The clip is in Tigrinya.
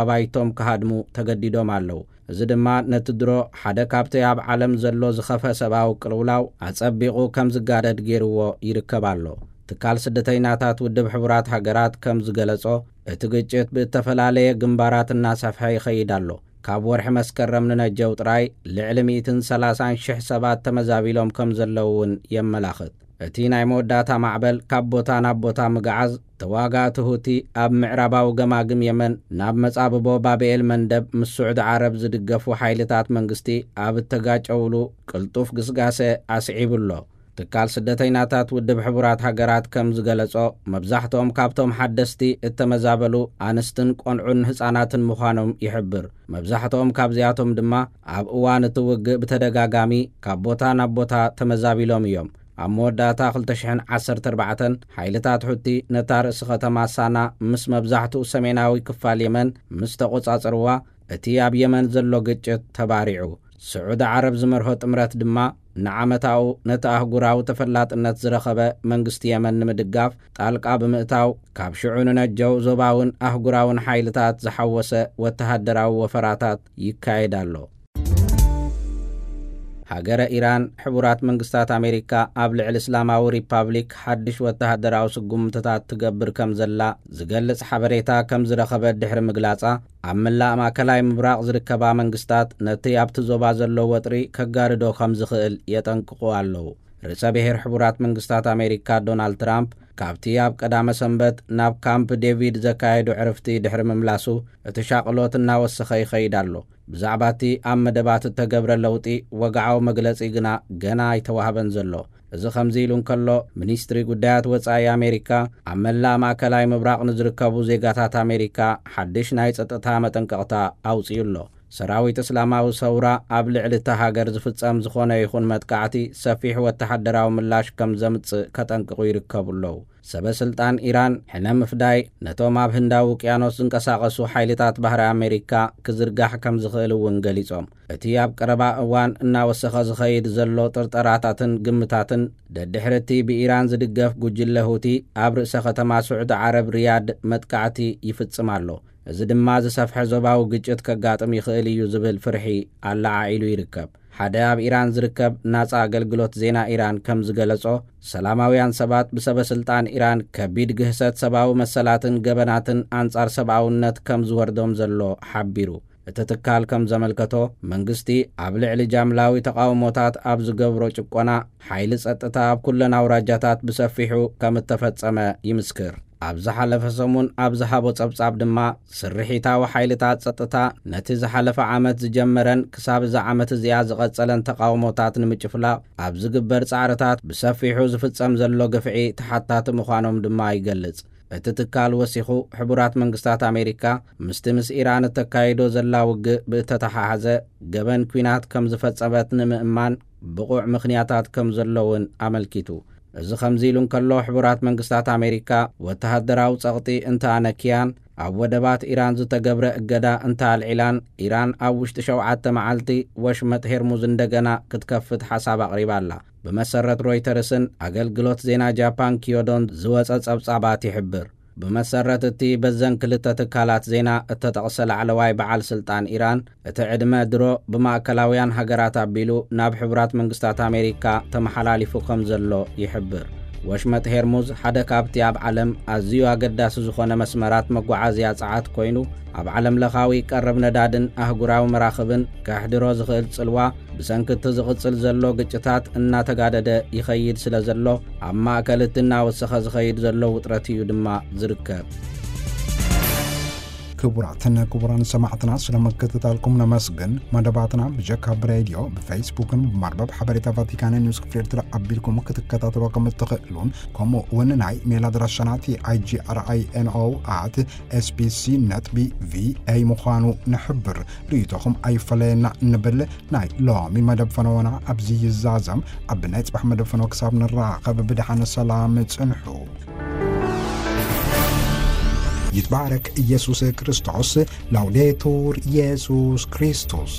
ኣባይቶም ክሃድሙ ተገዲዶም ኣለዉ። እዚ ድማ ነቲ ድሮ ሓደ ካብቲ ኣብ ዓለም ዘሎ ዝኸፍአ ሰብኣዊ ቅልውላው ኣጸቢቑ ከም ዝጋደድ ገይርዎ ይርከብ ኣሎ። ትካል ስደተይናታት ውድብ ሕቡራት ሃገራት ከም ዝገለጾ፣ እቲ ግጭት ብእተፈላለየ ግንባራት እናሰፍሐ ይኸይድ ኣሎ። ካብ ወርሒ መስከረም ንነጀው ጥራይ ልዕሊ ሚእትን ሰላሳን ሽሕ ሰባት ተመዛቢሎም ከም ዘለዉ እውን የመላኽት። እቲ ናይ መወዳእታ ማዕበል ካብ ቦታ ናብ ቦታ ምግዓዝ፣ ተዋጋእቲ ሁቲ ኣብ ምዕራባዊ ገማግም የመን ናብ መጻብቦ ባብኤል መንደብ ምስ ስዑዲ ዓረብ ዝድገፉ ሓይልታት መንግስቲ ኣብ እተጋጨውሉ ቅልጡፍ ግስጋሰ ኣስዒቡ ኣሎ። ትካል ስደተይናታት ውድብ ሕቡራት ሃገራት ከም ዝገለጾ፣ መብዛሕትኦም ካብቶም ሓደስቲ እተመዛበሉ ኣንስትን ቆንዑን ህጻናትን ምዃኖም ይሕብር። መብዛሕትኦም ካብዚኣቶም ድማ ኣብ እዋን እቲ ውግእ ብተደጋጋሚ ካብ ቦታ ናብ ቦታ ተመዛቢሎም እዮም። ኣብ መወዳእታ ክልተ ሽሕን ዓሰርተ ኣርባዕተን ሓይልታት ሑቲ ነታ ርእሲ ከተማ ሳና ምስ መብዛሕትኡ ሰሜናዊ ክፋል የመን ምስ ተቖጻጸርዋ፣ እቲ ኣብ የመን ዘሎ ግጭት ተባሪዑ። ስዑዲ ዓረብ ዝመርሆ ጥምረት ድማ ንዓመታኡ ነቲ ኣህጉራዊ ተፈላጥነት ዝረኸበ መንግስቲ የመን ንምድጋፍ ጣልቃ ብምእታው፣ ካብ ሽዑ ንነጀው ዞባውን ኣህጉራውን ሓይልታት ዝሓወሰ ወተሃደራዊ ወፈራታት ይካየድ ኣሎ። ሃገረ ኢራን፣ ሕቡራት መንግስታት ኣሜሪካ ኣብ ልዕሊ እስላማዊ ሪፓብሊክ ሓድሽ ወተሃደራዊ ስጉምትታት ትገብር ከም ዘላ ዝገልጽ ሓበሬታ ከም ዝረኸበት ድሕሪ ምግላጻ፣ ኣብ መላእ ማእከላይ ምብራቕ ዝርከባ መንግስታት ነቲ ኣብቲ ዞባ ዘሎ ወጥሪ ከጋርዶ ከም ዝኽእል የጠንቅቑ ኣለዉ። ርእሰ ብሔር ሕቡራት መንግስታት ኣሜሪካ ዶናልድ ትራምፕ፣ ካብቲ ኣብ ቀዳመ ሰንበት ናብ ካምፕ ዴቪድ ዘካየዶ ዕርፍቲ ድሕሪ ምምላሱ፣ እቲ ሻቕሎት እናወሰኸ ይኸይድ ኣሎ። ብዛዕባ እቲ ኣብ መደባት እተገብረ ለውጢ ወግዓዊ መግለጺ ግና ገና ኣይተዋህበን ዘሎ። እዚ ከምዚ ኢሉ እንከሎ፣ ሚኒስትሪ ጉዳያት ወጻኢ ኣሜሪካ ኣብ መላእ ማእከላይ ምብራቕ ንዝርከቡ ዜጋታት ኣሜሪካ ሓድሽ ናይ ጸጥታ መጠንቀቕታ ኣውጺኡ ኣሎ። ሰራዊት እስላማዊ ሰውራ ኣብ ልዕሊ እታ ሃገር ዝፍጸም ዝኾነ ይኹን መጥቃዕቲ ሰፊሕ ወተሃደራዊ ምላሽ ከም ዘምጽእ ከጠንቅቑ ይርከቡ ኣለዉ። ሰበ ስልጣን ኢራን ሕነ ምፍዳይ ነቶም ኣብ ህንዳዊ ውቅያኖስ ዝንቀሳቐሱ ሓይልታት ባህሪ ኣሜሪካ ክዝርጋሕ ከም ዝኽእል እውን ገሊጾም። እቲ ኣብ ቀረባ እዋን እናወሰኸ ዝኸይድ ዘሎ ጥርጠራታትን ግምታትን፣ ደድሕሪ እቲ ብኢራን ዝድገፍ ጉጅለ ሁቲ ኣብ ርእሰ ከተማ ስዑዲ ዓረብ ሪያድ መጥቃዕቲ ይፍጽም ኣሎ። እዚ ድማ ዝሰፍሐ ዞባዊ ግጭት ከጋጥም ይኽእል እዩ ዝብል ፍርሒ ኣለዓዒሉ ይርከብ። ሓደ ኣብ ኢራን ዝርከብ ናጻ ኣገልግሎት ዜና ኢራን ከም ዝገለጾ፣ ሰላማውያን ሰባት ብሰበ ስልጣን ኢራን ከቢድ ግህሰት ሰብኣዊ መሰላትን ገበናትን ኣንጻር ሰብኣውነት ከም ዝወርዶም ዘሎ ሓቢሩ። እቲ ትካል ከም ዘመልከቶ፣ መንግስቲ ኣብ ልዕሊ ጃምላዊ ተቓውሞታት ኣብ ዝገብሮ ጭቆና፣ ሓይሊ ጸጥታ ኣብ ኩለን ኣውራጃታት ብሰፊሑ ከም እተፈጸመ ይምስክር። ኣብ ዝሓለፈ ሰሙን ኣብ ዝሃቦ ጸብጻብ ድማ፣ ስርሒታዊ ሓይልታት ጸጥታ ነቲ ዝሓለፈ ዓመት ዝጀመረን ክሳብ እዛ ዓመት እዚኣ ዝቐጸለን ተቓውሞታት ንምጭፍላቕ ኣብ ዝግበር ጻዕርታት ብሰፊሑ ዝፍጸም ዘሎ ግፍዒ ተሓታቲ ምዃኖም ድማ ይገልጽ። እቲ ትካል ወሲኹ፣ ሕቡራት መንግስታት ኣሜሪካ ምስቲ ምስ ኢራን እተካይዶ ዘላ ውግእ ብእተተሓሓዘ ገበን ኲናት ከም ዝፈጸመት ንምእማን ብቑዕ ምኽንያታት ከም ዘሎ እውን ኣመልኪቱ። እዚ ከምዚ ኢሉ እንከሎ፣ ሕቡራት መንግስታት ኣሜሪካ ወተሃደራዊ ጸቕጢ እንተኣነክያን፣ ኣብ ወደባት ኢራን ዝተገብረ እገዳ እንተኣልዒላን፣ ኢራን ኣብ ውሽጢ ሸውዓተ መዓልቲ ወሽመጥ ሄርሙዝ እንደገና ክትከፍት ሓሳብ ኣቕሪባ ኣላ። ብመሰረት ሮይተርስን ኣገልግሎት ዜና ጃፓን ኪዮዶን ዝወጸ ጸብጻባት ይሕብር። ብመሰረት እቲ በዘን ክልተ ትካላት ዜና እተጠቕሰ ላዕለዋይ በዓል ስልጣን ኢራን፣ እቲ ዕድመ ድሮ ብማእከላውያን ሃገራት ኣቢሉ ናብ ሕቡራት መንግስታት ኣሜሪካ ተመሓላሊፉ ከም ዘሎ ይሕብር። ወሽመጥ ሄርሙዝ ሓደ ካብቲ ኣብ ዓለም ኣዝዩ ኣገዳሲ ዝኾነ መስመራት መጓዓዝያ ጸዓት ኮይኑ፣ ኣብ ዓለም ለኻዊ ቀረብ ነዳድን ኣህጉራዊ መራኽብን ከሕድሮ ዝኽእል ጽልዋ፣ ብሰንኪ እቲ ዝቕጽል ዘሎ ግጭታት እናተጋደደ ይኸይድ ስለ ዘሎ፣ ኣብ ማእከል እቲ እናወሰኸ ዝኸይድ ዘሎ ውጥረት እዩ ድማ ዝርከብ። ክቡራትን ክቡራን ሰማዕትና፣ ስለ ምክትታልኩም ነመስግን። መደባትና ብጀካ ብሬድዮ፣ ብፌስቡክን ብመርበብ ሓበሬታ ቫቲካን ኒውስ ክፍል ኤርትራ ኣቢልኩም ክትከታተሉ ከም እትኽእሉን፣ ከምኡ እውን ናይ ሜል ኣድራሻና ቲ ኣይ ጂ ኣር ኣይ ኤን ኦ ኣት ኤስ ቢ ሲ ነጥቢ ቪ ኤ ምዃኑ ንሕብር። ርእይቶኹም ኣይፈለየና እንብል። ናይ ሎሚ መደብ ፈነወና ኣብዚ ይዛዘም። ኣብ ናይ ጽባሕ መደብ ፈነወ ክሳብ ንራኸብ ብደሓን ሰላም ጽንሑ። ይትባረክ ኢየሱስ ክርስቶስ። ላውዴቱር ኢየሱስ ክርስቶስ።